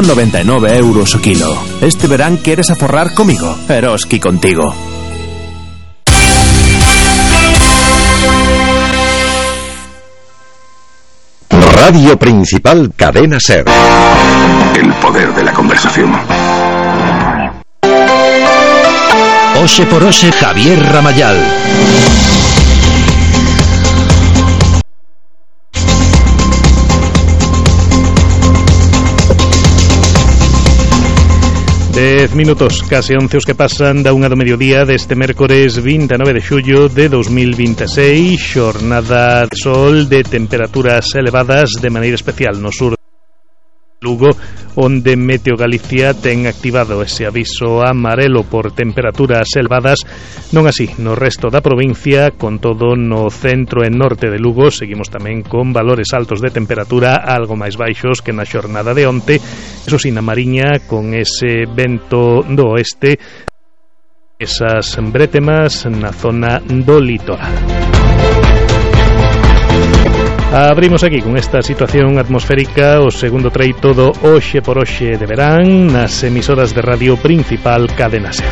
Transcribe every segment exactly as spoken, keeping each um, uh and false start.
noventa e nove euros o kilo. Este verán queres aforrar comigo? Eroski contigo. Radio Principal Cadena Ser. El poder de la conversación. Oxe por Oxe, Javier Ramayal. Dez minutos, case once os que pasan da unha do mediodía deste mércores vinte e nove de xullo de dos mil vinte e seis, xornada de sol de temperaturas elevadas de maneira especial no sur de Lugo, onde Meteo Galicia ten activado ese aviso amarelo por temperaturas elevadas, non así no resto da provincia, con todo no centro e norte de Lugo seguimos tamén con valores altos de temperatura algo máis baixos que na xornada de onte, eso si na Mariña con ese vento do oeste, esas brétemas na zona do litoral. Abrimos aquí con esta situación atmosférica o segundo treito do Oxe por Oxe de verán nas emisoras de radio principal Cadena Ser.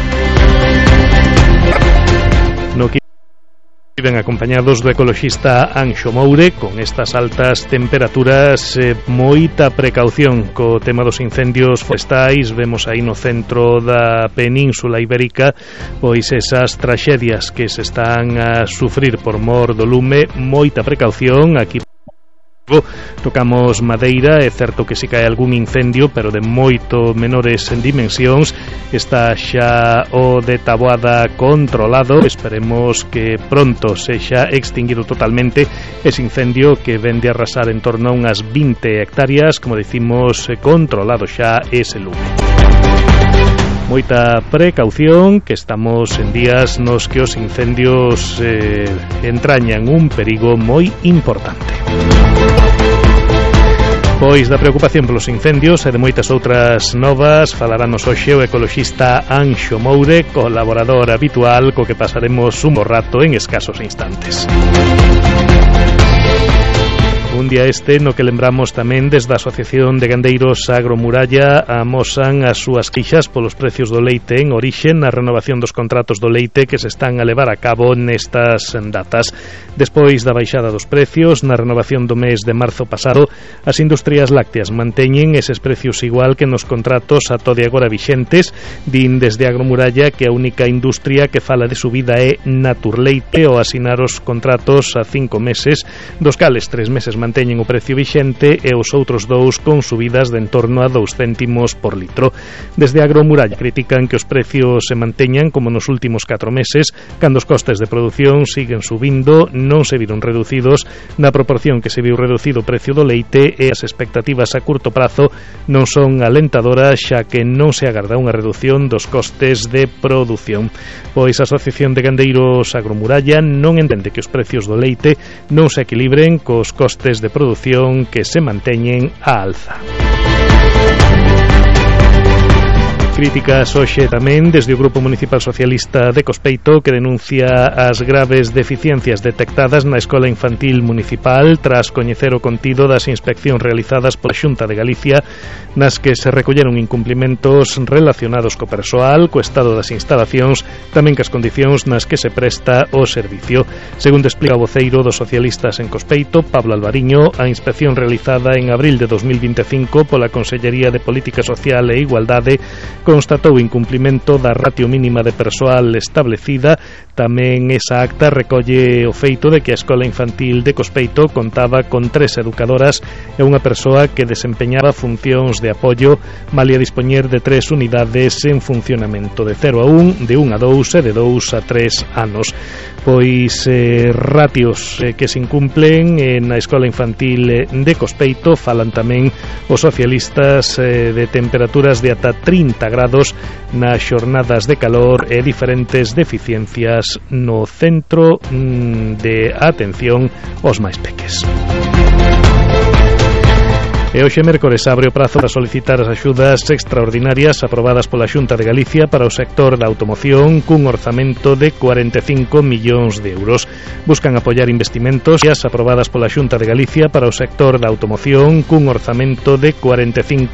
No que viven acompañados do ecoloxista Anxo Moure con estas altas temperaturas, eh, moita precaución co tema dos incendios forestais. Vemos aí no centro da Península Ibérica pois esas traxedias que se están a sufrir por mor do lume, moita precaución. Aquí tocamos madeira, é certo que si cae algún incendio, pero de moito menores en dimensións. Está xa o de Taboada controlado, esperemos que pronto sexa extinguido totalmente ese incendio que vende a arrasar en torno a unhas vinte hectáreas, como dicimos, controlado xa ese lume. Moita precaución, que estamos en días nos que os incendios eh, entrañan un perigo moi importante. Pois da preocupación polos incendios e de moitas outras novas falaranos hoxe o ecoloxista Anxo Moure, colaborador habitual co que pasaremos un bo rato en escasos instantes. Un día este no que lembramos tamén desde a Asociación de Gandeiros Agromuralla amosan as súas queixas polos precios do leite en orixe na renovación dos contratos do leite que se están a levar a cabo nestas datas. Despois da baixada dos precios na renovación do mes de marzo pasado, as industrias lácteas manteñen eses precios igual que nos contratos ata de agora vixentes. Din desde Agromuralla que a única industria que fala de subida é Naturleite ao asinar os contratos a cinco meses, dos cales tres meses manteñen o precio vixente e os outros dous con subidas de en torno a dous céntimos por litro. Desde Agromuralla critican que os precios se manteñan como nos últimos catro meses, cando os costes de produción siguen subindo, non se viron reducidos na proporción que se viu reducido o precio do leite e as expectativas a curto prazo non son alentadoras, xa que non se agarda unha reducción dos costes de produción. Pois a Asociación de Gandeiros Agromuralla non entende que os precios do leite non se equilibren cos costes de produción que se manteñen á alza. Críticas hoxe tamén desde o Grupo Municipal Socialista de Cospeito, que denuncia as graves deficiencias detectadas na Escola Infantil Municipal tras coñecer o contido das inspeccións realizadas pola Xunta de Galicia, nas que se recolleron incumplimentos relacionados co persoal, co estado das instalacións, tamén cas condicións nas que se presta o servicio. Segundo explica o voceiro dos socialistas en Cospeito, Pablo Alvariño, a inspección realizada en abril de dos mil vinte e cinco pola Consellería de Política Social e Igualdade constatou incumplimento da ratio mínima de persoal establecida. Tamén esa acta recolle o feito de que a Escola Infantil de Cospeito contaba con tres educadoras e unha persoa que desempeñaba funcións de apoio, malia dispoñer de tres unidades en funcionamento de cero a un, de un a dous e de dous a tres anos. Pois eh, ratios eh, que se incumplen eh, na Escola Infantil de Cospeito. Falan tamén os socialistas eh, de temperaturas de ata trinta grados nas xornadas de calor e diferentes deficiencias no centro mm, de atención aos máis peques. E hoxe mércores abre o prazo para solicitar as axudas extraordinarias aprobadas pola Xunta de Galicia para o sector da automoción cun orzamento de cuarenta e cinco millóns de euros. Buscan apoiar investimentos aprobadas pola Xunta de Galicia para o sector da automoción cun orzamento de cuarenta e cinco